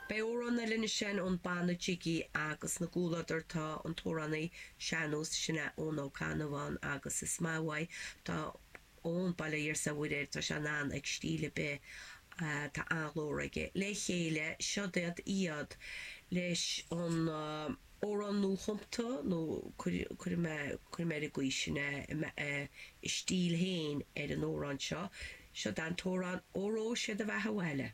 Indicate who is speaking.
Speaker 1: Beidh amhrán eile ansin ón banna Jiggy agus ina gcomhluadar tá an t-amhránaí sean-nós sin é Eoin Ó Cannabháin agus is maith uaidh tá Eoin, bail ó Dhia 's ar Mhuire air, tá sé in ann ag stíl ar bith, tá an-ghlór aige. Le chéile, siod iad iad leis an amhrán nuachumta nó cuirfidh mé cuirfidh mé ar an gcaoi sin é, a stíl féin ar an amhrán seo. Siod an t-amhrán Óró Sé do Bheatha Abhaile.